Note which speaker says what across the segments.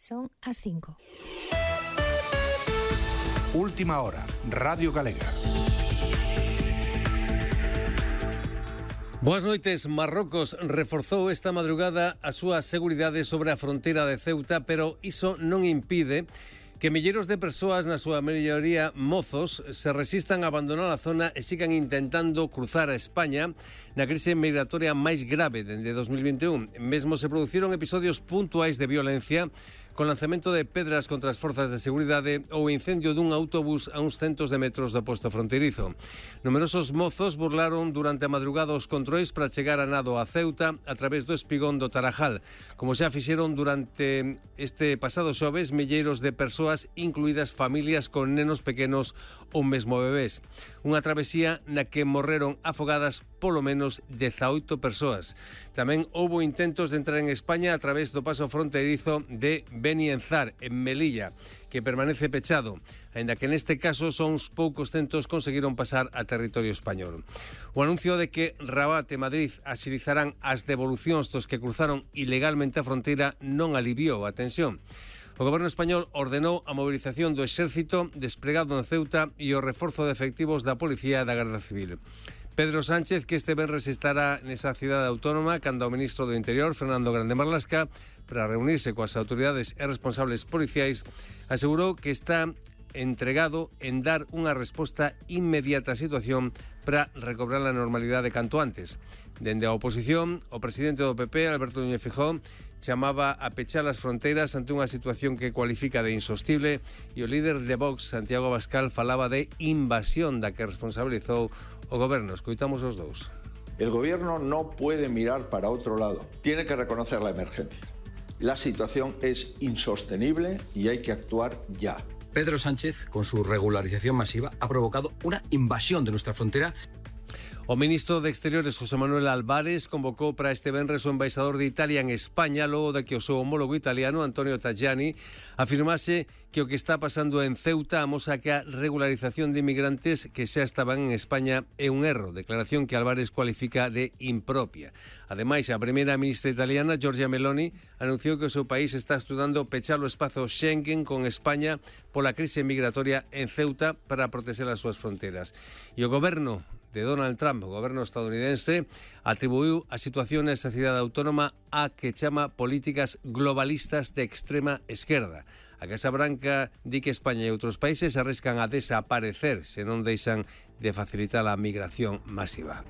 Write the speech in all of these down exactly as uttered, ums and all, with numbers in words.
Speaker 1: Son as cinco.
Speaker 2: Última hora, Radio Galega.
Speaker 3: Boas noites. Marrocos reforzou esta madrugada a súa seguridade sobre a fronteira de Ceuta, pero iso non impide que milleiros de persoas, na súa maioría mozos, se resistan a abandonar a zona e sigan intentando cruzar a España na crise migratoria máis grave dende dos mil vinte e un. Mesmo se produciron episodios puntuais de violencia con lanzamento de pedras contra as forzas de seguridade ou incendio dun autobús a uns centos de metros do posto fronteirizo. Numerosos mozos burlaron durante a madrugada os controis para chegar a nado a Ceuta a través do espigón do Tarajal, como xa fixeron durante este pasado xoves milleiros de persoas, incluídas familias con nenos pequenos ou mesmo bebés. Unha travesía na que morreron afogadas polo menos dezaoito persoas. Tamén houbo intentos de entrar en España a través do paso fronteirizo de Benienzar, en Melilla, que permanece pechado, aínda que neste caso só uns poucos centos conseguiron pasar a territorio español. O anuncio de que Rabat e Madrid axilizarán as devolucións dos que cruzaron ilegalmente a fronteira non aliviou a tensión. O goberno español ordenou a movilización do exército desplegado en Ceuta e o reforzo de efectivos da Policía e da Garda Civil. Pedro Sánchez, que este venres estará nesa cidade autónoma cando o ministro do Interior, Fernando Grande Marlasca, para reunirse coas autoridades e responsables policiais, asegurou que está entregado en dar unha resposta inmediata á situación para recobrar a normalidade canto antes. Dende a oposición, o presidente do P P, Alberto Núñez Feijóo, chamaba a pechar as fronteiras ante unha situación que cualifica de insostible, e o líder de Vox, Santiago Abascal, falaba de invasión da que responsabilizou o goberno. Escoitamos os dous.
Speaker 4: El gobierno no puede mirar para otro lado. Tiene que reconocer la emergencia. La situación es insostenible y hay que actuar ya.
Speaker 5: Pedro Sánchez, con su regularización masiva, ha provocado una invasión de nuestra frontera.
Speaker 3: O ministro de Exteriores, José Manuel Álvarez, convocou para este venres o embaixador de Italia en España, logo de que o seu homólogo italiano, Antonio Tajani, afirmase que o que está pasando en Ceuta amosa que a regularización de inmigrantes que xa estaban en España é un erro, declaración que Álvarez cualifica de impropia. Ademais, a primeira ministra italiana, Giorgia Meloni, anunciou que o seu país está estudando pechar o espazo Schengen con España pola crise migratoria en Ceuta para proteger as súas fronteras. E o goberno de Donald Trump, o goberno estadounidense, atribuiu a situación nesa cidade autónoma a que chama políticas globalistas de extrema esquerda. A Casa Branca di que España e outros países arriscan a desaparecer se non deixan de facilitar a migración masiva.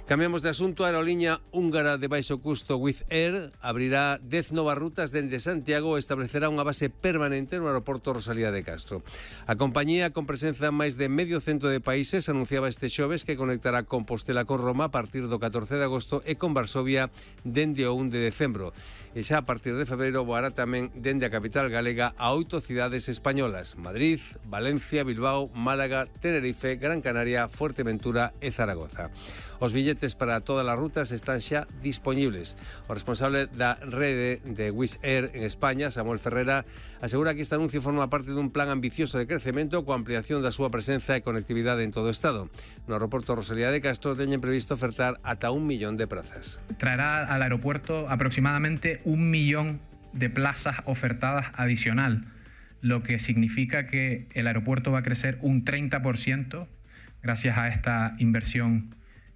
Speaker 3: Cambiamos de asunto. A aerolínea húngara de baixo custo Wizz Air abrirá dez novas rutas dende Santiago e establecerá unha base permanente no aeroporto Rosalía de Castro. A compañía, con presenza en máis de medio cento de países, anunciaba este xoves que conectará Compostela con Roma a partir do catorce de agosto e con Varsovia dende o un de decembro. E xa a partir de febreiro voará tamén dende a capital galega a oito cidades españolas: Madrid, Valencia, Bilbao, Málaga, Tenerife, Gran Canaria, Fuerteventura e Zaragoza. Os billetes para todas as rutas están xa dispoñibles. O responsable da rede de Wizz Air en España, Samuel Ferrera, asegura que este anuncio forma parte dun plan ambicioso de crecemento coa ampliación da súa presenza e conectividade en todo o Estado. No aeroporto Rosalía de Castro teñen previsto ofertar ata un millón de plazas.
Speaker 6: Traerá al aeropuerto aproximadamente un millón de plazas ofertadas adicional, lo que significa que el aeropuerto va a crecer un treinta por ciento gracias a esta inversión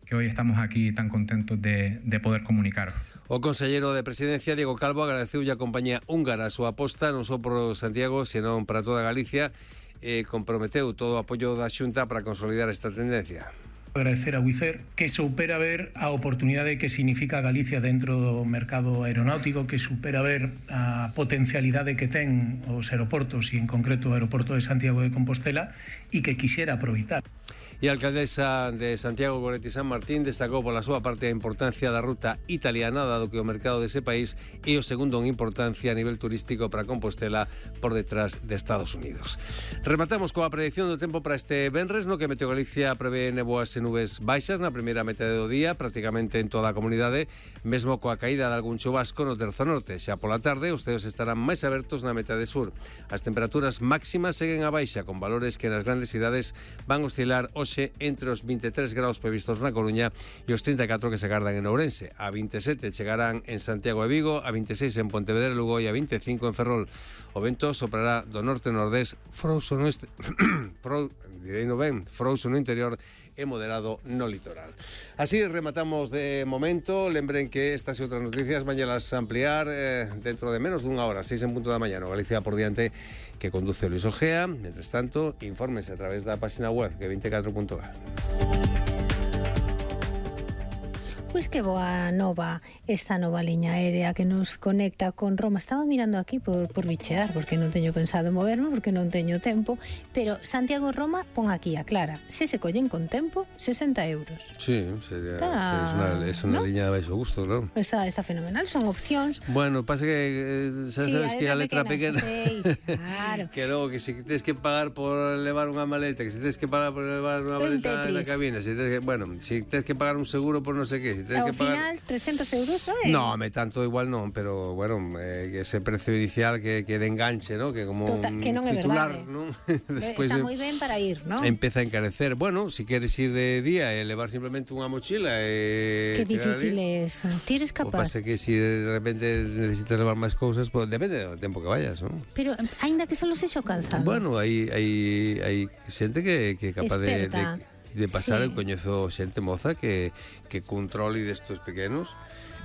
Speaker 6: que hoy estamos aquí tan contentos de, de poder comunicar.
Speaker 3: O conselleiro de Presidencia, Diego Calvo, agradeceulle a compañía húngara a súa aposta non só por Santiago, senón para toda Galicia, e comprometeu todo o apoio da Xunta para consolidar esta tendencia.
Speaker 7: Agradecer a Wizz Air que supera ver a oportunidade que significa Galicia dentro do mercado aeronáutico, que supera ver a potencialidade que ten os aeroportos e en concreto o aeroporto de Santiago de Compostela e que quixera aproveitar.
Speaker 3: E a alcaldesa de Santiago, Goretti San Martín, destacou pola súa parte a importancia da ruta italiana, dado que o mercado dese país é o segundo en importancia a nivel turístico para Compostela, por detrás de Estados Unidos. Rematamos coa predicción do tempo para este venres, no que Meteo Galicia prevé neboas e nubes baixas na primeira metade do día, prácticamente en toda a comunidade, mesmo coa caída de algún chubasco no terzo norte. Xa pola tarde, os ceos estarán máis abertos na metade sur. As temperaturas máximas seguen a baixa, con valores que nas grandes cidades van oscilar hoxe hoxe entre os vinte e tres graus previstos na Coruña e os trinta e catro que se agardan en Ourense. A vinte e sete chegarán en Santiago e Vigo, a vinte e seis en Pontevedra e Lugo e a vinte e cinco en Ferrol. O vento soprará do norte-nordés frouxo no este... Frou... direi no ben, frouxo no interior e moderado no litoral. Así rematamos de momento. Lembren que estas e outras noticias mañanas ampliar eh, dentro de menos dunha hora, seis en punto da mañana. Galicia por diante, que conduce Luis Ojea. Mientras tanto, infórmense a través da página web que veinticuatro punto gal.
Speaker 1: Pois que boa nova esta nova liña aérea que nos conecta con Roma. Estaba mirando aquí por, por bichear, porque non teño pensado moverme, porque non teño tempo, pero Santiago-Roma pon aquí a Clara. Se se collen con tempo, sesenta euros.
Speaker 3: Sí, sería,
Speaker 1: Está,
Speaker 3: sí, es una, es una
Speaker 1: ¿no?
Speaker 3: liña de baixo gusto, claro.
Speaker 1: Está, está fenomenal, son opcións.
Speaker 3: Bueno, pasa que eh, sabes,
Speaker 1: Sí,
Speaker 3: sabes que a letra pequena,
Speaker 1: pequena sí, claro.
Speaker 3: que logo que si tienes que pagar por levar unha maleta, que si tienes que pagar por levar unha
Speaker 1: Un
Speaker 3: maleta en la
Speaker 1: Tetris.
Speaker 3: cabina, si tienes que, bueno, si tienes que pagar un seguro por no sé qué, si tienes
Speaker 1: Ao
Speaker 3: que pagar...
Speaker 1: final, trescentos euros, non é?
Speaker 3: No, me tanto igual non, pero bueno, eh, que ese precio inicial que, que de enganche, ¿no? Que como
Speaker 1: Tota- que non é
Speaker 3: titular,
Speaker 1: verdade.
Speaker 3: ¿no?
Speaker 1: Despois está moi ben para ir, non?
Speaker 3: Empeza a encarecer. Bueno, si quieres ir de día e levar simplemente unha mochila e
Speaker 1: Que
Speaker 3: chegar
Speaker 1: difícil
Speaker 3: ali,
Speaker 1: é eso. Ti eres
Speaker 3: o
Speaker 1: capaz.
Speaker 3: pasa que si de repente necesitas levar máis cousas, pues depende do tempo que vayas, ¿no?
Speaker 1: Pero, aínda que solo sexa o calzado.
Speaker 3: Bueno, hai hai hai xente que que é capaz de, de
Speaker 1: Experta.
Speaker 3: de pasar,
Speaker 1: Sí.
Speaker 3: eu coñezo xente moza que que cun troli destos pequenos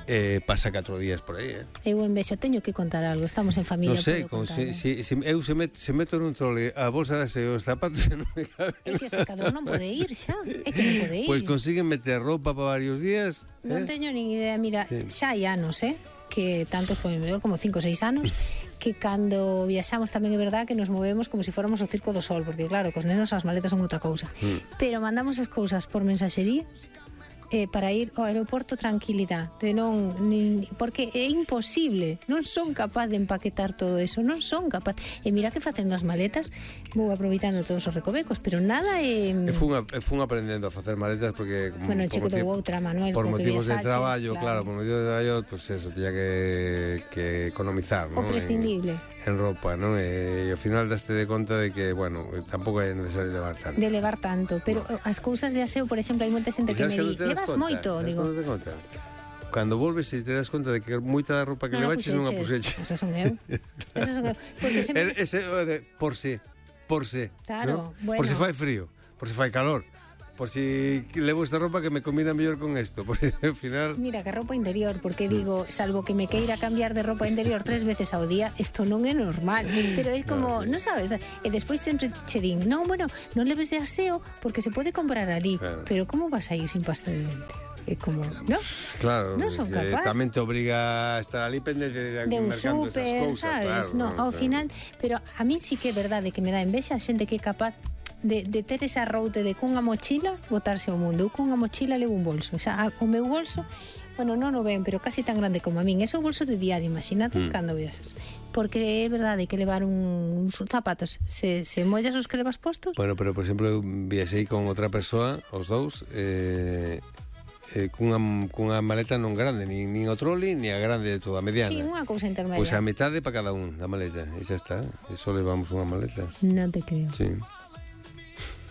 Speaker 3: eh, pasa catro días por aí, eh.
Speaker 1: Eu en vexo, teño que contar algo. Estamos en familia,
Speaker 3: Non sei,
Speaker 1: podo
Speaker 3: con,
Speaker 1: contar.
Speaker 3: si, si, si eu se, met, se meto nun trole a bolsa das e os zapatos non me caben.
Speaker 1: É que o secador non pode ir xa. É que non pode ir.
Speaker 3: Pois consiguen meter roupa para varios días.
Speaker 1: Non
Speaker 3: eh?
Speaker 1: teño nin idea. Mira,
Speaker 3: Sí.
Speaker 1: xa hai anos, eh? Que tantos, pois, mellor como cinco ou seis anos, que cando viaxamos tamén é verdad que nos movemos como se fóramos o Circo do Sol, porque claro, cos nenos as maletas son outra cousa.
Speaker 3: Mm.
Speaker 1: Pero mandamos as cousas por mensaxería eh, para ir ao aeroporto tranquilidade, de non nin, porque é imposible, non son capaz de empaquetar todo eso, non son capaz. E mira que facendo as maletas vou aproveitando todos os recovecos, pero nada é
Speaker 3: E fun, a, e fun aprendendo a facer maletas porque como,
Speaker 1: Bueno, che
Speaker 3: por
Speaker 1: quedou
Speaker 3: motivo-
Speaker 1: outra, Manuel,
Speaker 3: por
Speaker 1: porque
Speaker 3: motivos de
Speaker 1: viaxaches,
Speaker 3: traballo, claro.
Speaker 1: claro.
Speaker 3: por motivos de traballo, pues eso, tenía que, que economizar,
Speaker 1: o
Speaker 3: ¿no?
Speaker 1: prescindible.
Speaker 3: En, en roupa, ¿no? E, e ao final daste de conta de que, bueno, tampouco é necesario levar tanto.
Speaker 1: De levar tanto, pero as cousas de aseo, por exemplo, hai moita xente
Speaker 3: E
Speaker 1: que
Speaker 3: sabes
Speaker 1: me
Speaker 3: cando
Speaker 1: di,
Speaker 3: te das
Speaker 1: levas
Speaker 3: conta?
Speaker 1: moito,
Speaker 3: Sabes
Speaker 1: digo.
Speaker 3: cando te conta? Cando volves e te das conta de que moita da roupa que
Speaker 1: Non a
Speaker 3: levaches non a
Speaker 1: puxeches.
Speaker 3: puxeches.
Speaker 1: Esas son eu. Esas son eu. Porque sempre
Speaker 3: É- ese, o de, por si, por si,
Speaker 1: Claro,
Speaker 3: ¿no?
Speaker 1: bueno.
Speaker 3: Por si fai frío, por si fai calor, por si levo esta roupa que me combina mellor con esto, por si ao final...
Speaker 1: Mira, que roupa interior, porque digo, salvo que me queira cambiar de roupa interior tres veces ao día, isto non é normal. Pero é como, non sabes, e despois sempre che din, non, bueno, non leves de aseo porque se pode comprar ali,
Speaker 3: Claro.
Speaker 1: pero como vas a ir sin pasta de dente? É como, non?
Speaker 3: Claro,
Speaker 1: Non son
Speaker 3: que
Speaker 1: capaz.
Speaker 3: tamén te obriga a estar ali pendente de,
Speaker 1: De un
Speaker 3: mercando esas
Speaker 1: súper,
Speaker 3: cousas,
Speaker 1: sabes?
Speaker 3: claro,
Speaker 1: No, ao
Speaker 3: claro.
Speaker 1: final, pero a mí sí que é verdade que me dá envexa a xente que é capaz de, de ter esa route de cunha mochila botarse ao mundo. Eu cunha mochila levo un bolso. O sea, o meu bolso, bueno, non o ven, pero casi tan grande como a min. Ese é o bolso de diario, imagínate mm. cando viaxas. Porque é verdade que levar un, uns zapatos, se, se mollas os que levas postos,
Speaker 3: Bueno, pero por exemplo, eu viaxei con outra persoa, os dous, eh, eh, cunha, cunha maleta non grande, nin, nin o troli, ni a grande de toda, a mediana.
Speaker 1: sí, unha cousa intermedia.
Speaker 3: Pois a metade para cada un da maleta, e xa está, e só levamos unha maleta.
Speaker 1: Non te creo.
Speaker 3: Sí.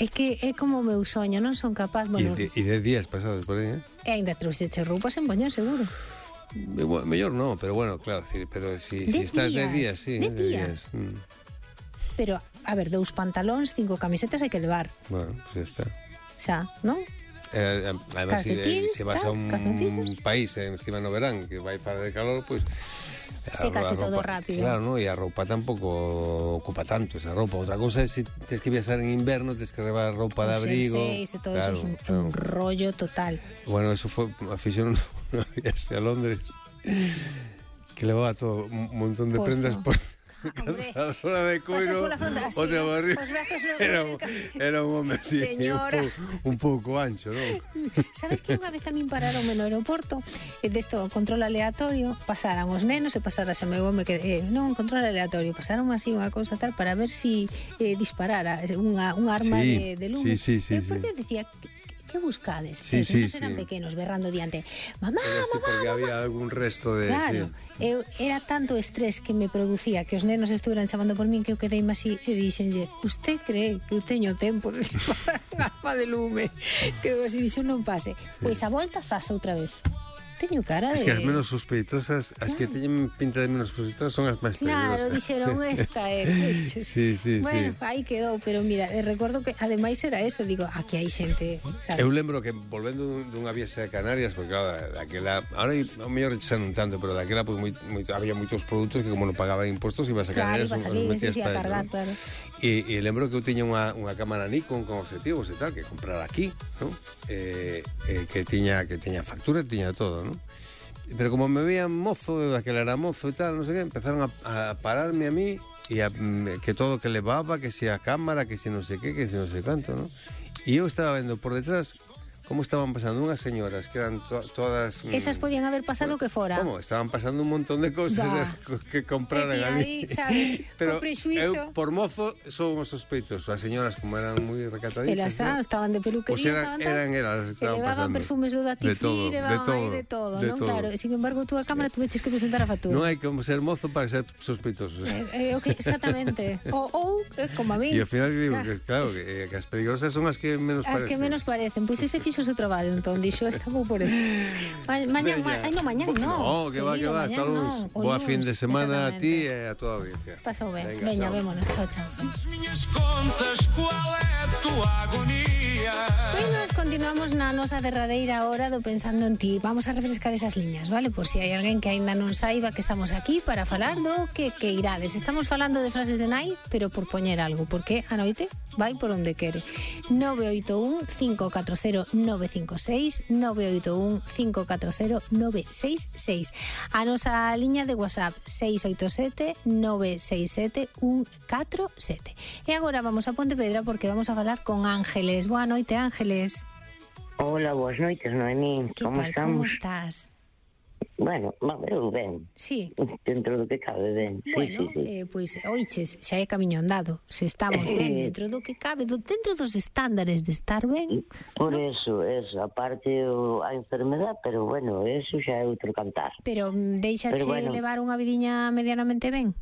Speaker 1: É que é como o meu soño, non son capaz,
Speaker 3: E
Speaker 1: bueno,
Speaker 3: de, e de días pasados por aí, eh?
Speaker 1: e ainda trouxeche roupa sen poñer, seguro.
Speaker 3: Eh, bueno, mellor non, pero bueno, claro, decir, pero si,
Speaker 1: De
Speaker 3: si estás de días,
Speaker 1: días,
Speaker 3: sí,
Speaker 1: de
Speaker 3: de
Speaker 1: días.
Speaker 3: días. Mm.
Speaker 1: Pero, a ver, dous pantalóns, cinco camisetas hai que levar,
Speaker 3: Bueno, pues ya está.
Speaker 1: xa, non?
Speaker 3: Eh, además, si,
Speaker 1: Calcetins,
Speaker 3: si vas a
Speaker 1: tal,
Speaker 3: un
Speaker 1: calzoncillos.
Speaker 3: país eh, encima no verán que vai para de calor, pues
Speaker 1: Sécase todo rápido.
Speaker 3: Claro, ¿no? Y a roupa tampouco ocupa tanto esa roupa. Outra cosa é se si tens que viaxar en inverno, tens que levar roupa de
Speaker 1: Os
Speaker 3: abrigo.
Speaker 1: jerseys e todo
Speaker 3: claro,
Speaker 1: eso é un,
Speaker 3: claro.
Speaker 1: un rollo total.
Speaker 3: Bueno, eso foi a fixeron unha viaxe a Londres que levaba todo un montón de
Speaker 1: Posto.
Speaker 3: prendas por
Speaker 1: Hombre,
Speaker 3: calzadora de coiro,
Speaker 1: pasas pola fronte así,
Speaker 3: outra
Speaker 1: ¿no?
Speaker 3: barriga.
Speaker 1: Os brazos no-
Speaker 3: Era, un- era un home así, un,
Speaker 1: Señora.
Speaker 3: pouco, un pouco ancho, non?
Speaker 1: Sabes que unha vez a min pararon no aeroporto e desto control aleatorio, pasaran os nenos e pasaras a meu home que eh, non, control aleatorio, pasaron así unha cousa tal para ver si eh, disparara unha, unha arma
Speaker 3: Sí,
Speaker 1: de, de lume.
Speaker 3: sí, sí, sí,
Speaker 1: e porque
Speaker 3: sí.
Speaker 1: decía que, que buscades?
Speaker 3: Sí,
Speaker 1: E os nenos
Speaker 3: sí,
Speaker 1: eran
Speaker 3: sí.
Speaker 1: pequenos, berrando diante. Mamá,
Speaker 3: Pero sí,
Speaker 1: mamá,
Speaker 3: porque
Speaker 1: mamá.
Speaker 3: había algún resto de...
Speaker 1: Claro,
Speaker 3: sí.
Speaker 1: eu, era tanto estrés que me producía que os nenos estuveran chamando por min que eu quedei así e dixenlle, usted cree que eu teño tempo de disparar un arma de lume? Que eu así dixo, non pase. Pois a volta faz outra vez. Teño cara de...
Speaker 3: Es que as menos sospeitosas, as que teñen pinta de menos sospeitosas son as máis
Speaker 1: Claro,
Speaker 3: peligrosas.
Speaker 1: dixeron esta, eh, vexes.
Speaker 3: Sí, sí,
Speaker 1: bueno,
Speaker 3: sí.
Speaker 1: aí quedou, pero mira, eh, recordo que ademais era eso, digo, aquí hai xente, sabes?
Speaker 3: Eu lembro que volvendo dun- dunha viaxe a Canarias, porque claro, daquela, ahora ao mellor xa non tanto, pero daquela pues, moi, moi, había moitos produtos que como non pagaban impostos ibas a
Speaker 1: Claro,
Speaker 3: Canarias
Speaker 1: ibas
Speaker 3: os
Speaker 1: aquí,
Speaker 3: metías
Speaker 1: sí, sí, a
Speaker 3: pa dentro,
Speaker 1: cargar,
Speaker 3: ¿no?
Speaker 1: claro.
Speaker 3: E, e lembro que eu tiña unha, unha cámara Nikon con objetivos e tal, que comprar aquí, ¿no? Eh, eh, que tiña que tiña factura, tiña todo, ¿no? Pero como me veían mozo, daquela era mozo e tal, non sei que, empezaron a, a pararme a mí e a, mm, que todo que levaba, que se a cámara, que se non sei que, que se non sei canto, ¿no? E eu estaba vendo por detrás como estaban pasando unhas señoras que eran to todas... mm,
Speaker 1: Esas podían haber pasado que fora.
Speaker 3: ¿Cómo? Estaban pasando un montón de cosas
Speaker 1: Va.
Speaker 3: de, que compraran
Speaker 1: E ti
Speaker 3: ali.
Speaker 1: aí, sabes,
Speaker 3: Pero
Speaker 1: co presuizo.
Speaker 3: eu, por mozo, son os sospeitosos. As señoras, como eran moi recataditas...
Speaker 1: Elas estaban, estaban de peluquería,
Speaker 3: Pues eran,
Speaker 1: estaban tal,
Speaker 3: eran elas que
Speaker 1: que
Speaker 3: estaban
Speaker 1: levaban
Speaker 3: pasando.
Speaker 1: perfumes do Datifir,
Speaker 3: De todo,
Speaker 1: levaban
Speaker 3: de todo,
Speaker 1: aí de todo,
Speaker 3: de
Speaker 1: non?
Speaker 3: todo.
Speaker 1: Claro, e sin embargo, tú a cámara tuveches que presentar a factura.
Speaker 3: Non hai como ser mozo para ser sospeitoso.
Speaker 1: Eh, eh, okay, exactamente. Ou, ou eh, como a mí.
Speaker 3: E ao final digo
Speaker 1: Ah,
Speaker 3: que, claro, que, que as peligrosas son as que menos
Speaker 1: As
Speaker 3: parecen.
Speaker 1: que menos parecen. Pois ese fixo o seu traballo, entón, dixo, esta vou por este. Ma, mañan, ma,
Speaker 3: Veña.
Speaker 1: ai, no, mañan,
Speaker 3: Bo-
Speaker 1: no.
Speaker 3: No, que va, que
Speaker 1: Querido,
Speaker 3: va.
Speaker 1: mañán
Speaker 3: Hasta luns.
Speaker 1: non, o
Speaker 3: Boa
Speaker 1: luns,
Speaker 3: fin de semana a ti
Speaker 1: exactamente.
Speaker 3: e a toda a audiencia.
Speaker 1: Pasou ben.
Speaker 3: Venga,
Speaker 1: Veña,
Speaker 3: chao.
Speaker 1: vémonos. Chao, chao.
Speaker 8: Minhas contas, qual é a tua agonia?
Speaker 1: Pois nos continuamos na nosa derradeira hora do Pensando en Ti. Vamos a refrescar esas liñas, vale? Por si hai alguén que aínda non saiba que estamos aquí para falar do que que irades. Estamos falando de frases de nai, pero por poñer algo, porque a noite vai por onde quere. nove oito un cinco catro cero nove cinco seis nove oito un cinco catro cero nove seis seis. A nosa liña de WhatsApp seis oito sete nove seis sete un catro sete. E agora vamos a Pontevedra porque vamos a falar con Ángeles. Boa noite, Ángeles.
Speaker 9: Hola, boas noites, Noemí.
Speaker 1: Que
Speaker 9: Como
Speaker 1: tal?
Speaker 9: estamos?
Speaker 1: Como estás?
Speaker 9: Bueno, va, eu ben.
Speaker 1: Sí.
Speaker 9: Dentro do que cabe ben.
Speaker 1: Bueno,
Speaker 9: sí, sí, sí.
Speaker 1: eh, pois, oiches, xa é camiño andado. Se estamos ben dentro do que cabe, do, dentro dos estándares de estar ben,
Speaker 9: Por eso, eso, aparte o, a enfermedad, pero bueno, eso xa é outro cantar.
Speaker 1: pero mm, deixache
Speaker 9: Pero bueno.
Speaker 1: levar unha vidiña medianamente ben.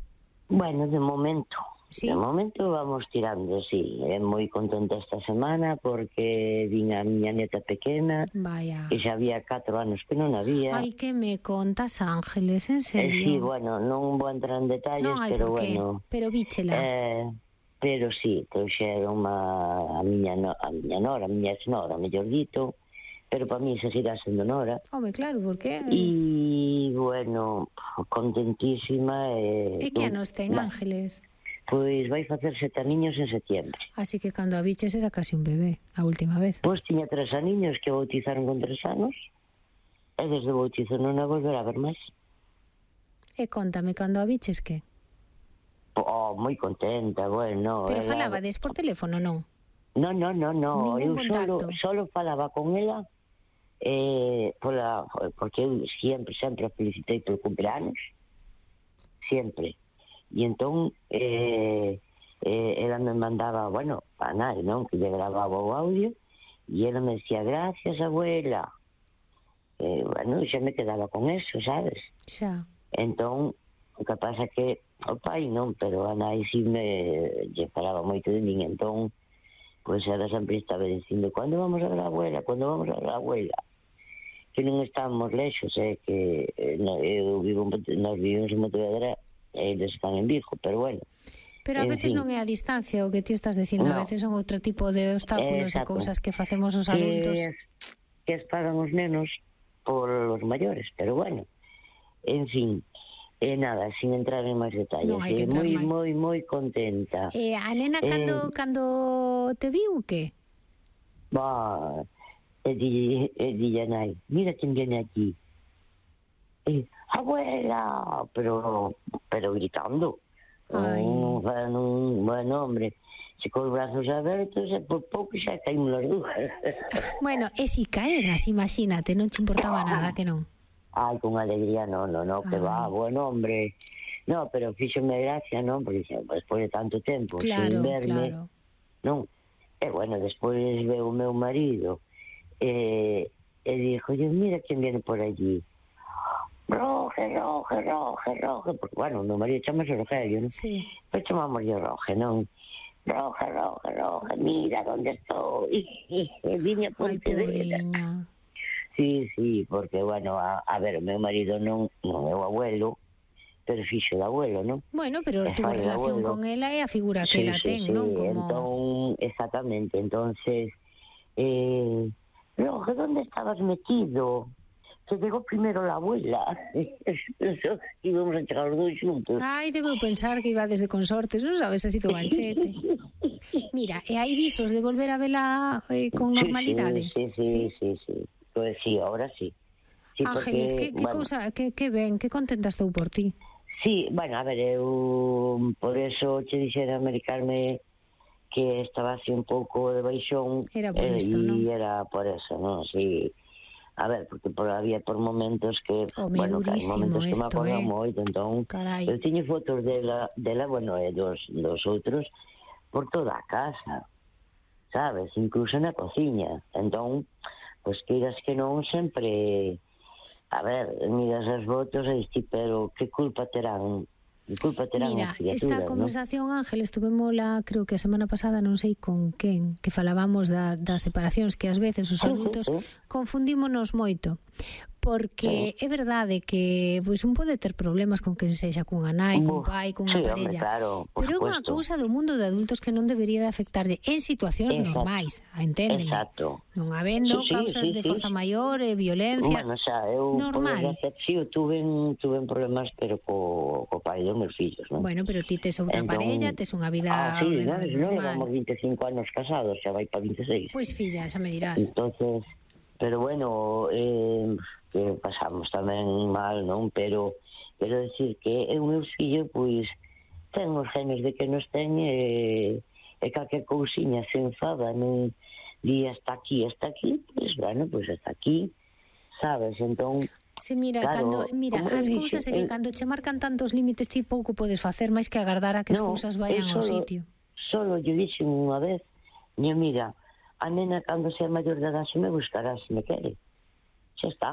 Speaker 9: Bueno, de momento,
Speaker 1: Sí.
Speaker 9: de momento vamos tirando, sí. É moi contenta esta semana porque vin a miña neta pequena,
Speaker 1: Vaya.
Speaker 9: que xa había catro anos que non había.
Speaker 1: Ai, que me contas, Ángeles, en
Speaker 9: Eh,
Speaker 1: serio?
Speaker 9: sí, bueno, non vou entrar en detalles,
Speaker 1: non hai
Speaker 9: pero
Speaker 1: por qué,
Speaker 9: bueno...
Speaker 1: pero víchela.
Speaker 9: Eh, pero sí, trouxeron a, a miña no, a miña nora, a miña ex-nora, mellor dito, pero para mí seguirá sendo nora.
Speaker 1: Home, claro, por qué?
Speaker 9: E, bueno, contentísima.
Speaker 1: E
Speaker 9: E,
Speaker 1: que anos ten,
Speaker 9: Va,
Speaker 1: Ángeles?
Speaker 9: Pois vai facer sete aniños en setiembre.
Speaker 1: Así que cando a biches era casi un bebé, a última vez.
Speaker 9: Pois tiña tres aniños que bautizaron con tres anos, e desde o bautizo non a volver a ver máis.
Speaker 1: E contame, cando a biches que?
Speaker 9: Oh, moi contenta, bueno.
Speaker 1: Pero
Speaker 9: ela-
Speaker 1: falabades por teléfono, non?
Speaker 9: No, no, no, no.
Speaker 1: Ningún
Speaker 9: Eu solo,
Speaker 1: contacto.
Speaker 9: solo falaba con ela eh, pola, porque eu sempre, sempre a felicitei polo cumpleanos. Sempre. E entón eh, eh, ela me mandaba, bueno, a nai, non? Que lle grababa o audio e ela me decía, gracias, abuela. Eh, bueno, xa me quedaba con eso, sabes?
Speaker 1: Xa.
Speaker 9: Entón, o que pasa que o pai non, pero a nai si me lle falaba moito de min, entón pois ela sempre estaba dicindo, cando vamos a ver a abuela, cando vamos a ver a abuela, que non estamos lexos, eh, que eh, no, eu vivo, en- nós vivimos en Pontevedra e eles están en Vigo, pero bueno.
Speaker 1: Pero a
Speaker 9: En
Speaker 1: veces
Speaker 9: fin.
Speaker 1: non é a distancia o que ti estás dicindo, a
Speaker 9: No.
Speaker 1: veces son outro tipo de obstáculos e
Speaker 9: Exacto.
Speaker 1: cousas que facemos os adultos.
Speaker 9: Que, que as pagan os nenos por os maiores, pero bueno, en fin, e nada, sin entrar en máis detalles,
Speaker 1: Non hai que
Speaker 9: eh,
Speaker 1: entrar
Speaker 9: moi,
Speaker 1: máis.
Speaker 9: moi, moi contenta.
Speaker 1: E a nena cando,
Speaker 9: Eh.
Speaker 1: cando te viu, que?
Speaker 9: Va, e di, e di a nai, mira quen viene aquí. E, abuela, pero, pero gritando.
Speaker 1: Ai.
Speaker 9: Oh, bueno, bueno, hombre, se con os brazos abertos e por pouco xa caímos as dúas.
Speaker 1: Bueno, e si caeras, imagínate, non te importaba nada, que non?
Speaker 9: Ai, con alegría, no, no, no, que
Speaker 1: Ai.
Speaker 9: va, buen hombre. No, pero fíxome gracia, non? Porque xa, despois de tanto tempo,
Speaker 1: Claro,
Speaker 9: sin verme,
Speaker 1: claro.
Speaker 9: non? E bueno, despois veo o meu marido, e, e dixo, mira quen viene por allí. Roge, Roge, Roge, Roge, porque, bueno, o meu marido chamase Rogelio, non?
Speaker 1: Sí.
Speaker 9: Pois chamámoslle Roge, non? Roge, Roge, Roge, mira onde estou. E viña a Pontevedra.
Speaker 1: Ai, pobreña.
Speaker 9: Sí, sí, porque, bueno, a, a ver, o meu marido non, non é o abuelo, pero fixo de abuelo, non?
Speaker 1: Bueno, pero
Speaker 9: E
Speaker 1: tuvo
Speaker 9: fai de
Speaker 1: relación
Speaker 9: abuelo.
Speaker 1: con ela e a figura que
Speaker 9: Sí,
Speaker 1: ela
Speaker 9: sí,
Speaker 1: ten,
Speaker 9: sí,
Speaker 1: non? Como...
Speaker 9: entón, exactamente, entonces, eh, Roge, ¿dónde estabas metido? Que llegó primero la abuela. Pensó que íbamos a chegar os dois xuntos.
Speaker 1: Ai, debeu pensar que iba desde consortes, non sabes, así do ganchete. Mira, e hai visos de volver a vela eh, con normalidade?
Speaker 9: Sí, sí, sí, sí, sí, sí. Pues sí, ahora sí. Sí,
Speaker 1: Ángeles,
Speaker 9: porque,
Speaker 1: que, que
Speaker 9: bueno,
Speaker 1: cousa, que, que ben, que contenta estou por ti.
Speaker 9: Sí, bueno, a ver, eu por eso che dixera americarme que estaba así un pouco de baixón.
Speaker 1: Era por
Speaker 9: eh,
Speaker 1: isto,
Speaker 9: e
Speaker 1: non?
Speaker 9: era por eso, non? Sí. A ver, porque por, había por momentos que,
Speaker 1: Home,
Speaker 9: bueno, que hai
Speaker 1: durísimo
Speaker 9: momentos que me
Speaker 1: esto,
Speaker 9: acordan
Speaker 1: eh.
Speaker 9: moito, entón,
Speaker 1: Carai.
Speaker 9: eu tiño fotos dela, dela, bueno, e dos, dos outros por toda a casa, sabes, incluso na cociña. Entón, pois queiras que non, sempre, a ver, miras as fotos e diste, pero que culpa terán? Que culpa terán
Speaker 1: Mira,
Speaker 9: as criaturas,
Speaker 1: esta
Speaker 9: non?
Speaker 1: conversación, Ángel, estuvémola, creo que a semana pasada, non sei con quen, que falábamos da, das separacións, que ás veces os adultos confundímonos moito. Porque é verdade que pois un pode ter problemas con que se sexa cunha nai, cun pai, cunha
Speaker 9: sí,
Speaker 1: parella,
Speaker 9: hombre, claro, por
Speaker 1: pero é unha
Speaker 9: supuesto.
Speaker 1: cousa do mundo de adultos que non debería de afectarlle en situacións
Speaker 9: Exacto.
Speaker 1: normais, enténdeme.
Speaker 9: Exacto.
Speaker 1: Non habendo
Speaker 9: Sí, sí,
Speaker 1: causas
Speaker 9: sí,
Speaker 1: de
Speaker 9: sí.
Speaker 1: forza maior, e violencia,
Speaker 9: Bueno, xa, eu,
Speaker 1: normal.
Speaker 9: por desgracia, sí, eu tuve, tuve problemas, pero co, co pai dos meus fillos, non?
Speaker 1: Bueno, pero ti tes outra
Speaker 9: Entón,
Speaker 1: parella, tes unha vida
Speaker 9: Ah, sí, non,
Speaker 1: ordenada e
Speaker 9: non
Speaker 1: normal.
Speaker 9: levamos veinticinco anos casados, xa vai para veintiséis.
Speaker 1: Pois filla, xa me dirás.
Speaker 9: Entonces, pero bueno, eh, que pasamos tamén mal, non? Pero quero decir que o meu fillo, pois, ten os genes de que nos ten e, e calquer cousiña se enfada, non di hasta aquí, hasta aquí, pois, bueno, pois hasta aquí, sabes? Entón,
Speaker 1: Sí, mira,
Speaker 9: claro,
Speaker 1: cando, mira,
Speaker 9: como eu
Speaker 1: as
Speaker 9: dixen,
Speaker 1: cousas é que
Speaker 9: eu-
Speaker 1: cando che marcan tantos límites ti pouco podes facer máis que agardar a que as
Speaker 9: No,
Speaker 1: cousas vayan
Speaker 9: eu
Speaker 1: ao
Speaker 9: solo-
Speaker 1: sitio.
Speaker 9: Solo lle dixen unha vez, "Ñe, mira, a nena cando sea maior de edad se me buscará se me quere. Xa está.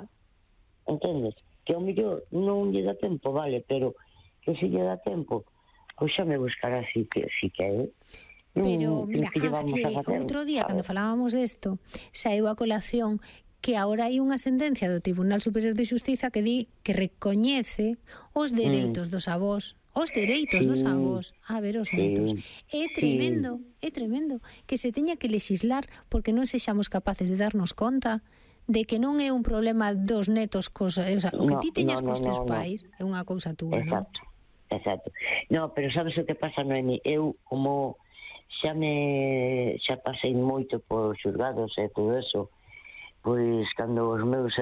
Speaker 9: Entendes? Que ao mellor non lle dá tempo, vale, pero que se lle dá tempo, pois xa me buscará si que si quere.
Speaker 1: Pero,
Speaker 9: Mm,
Speaker 1: mira,
Speaker 9: que lle vamos a
Speaker 1: eh,
Speaker 9: facer,
Speaker 1: outro día, cando
Speaker 9: sabes?
Speaker 1: falábamos desto, saíu a colación que agora hai unha sentencia do Tribunal Superior de Xustiza que di que recoñece os dereitos dos avós, os dereitos dos
Speaker 9: Sí,
Speaker 1: avós a ver os
Speaker 9: sí,
Speaker 1: netos. É
Speaker 9: sí.
Speaker 1: tremendo, é tremendo que se teña que legislar porque non sexamos capaces de darnos conta de que non é un problema dos netos cos, o, sea, o que
Speaker 9: No,
Speaker 1: ti teñas
Speaker 9: no,
Speaker 1: cos
Speaker 9: no,
Speaker 1: teus
Speaker 9: no, no.
Speaker 1: pais é unha cousa túa, non?
Speaker 9: Exacto, exacto. No, pero sabes o que pasa, Noemi? Eu, como xa me xa pasei moito por xulgados e todo eso, pois cando os meus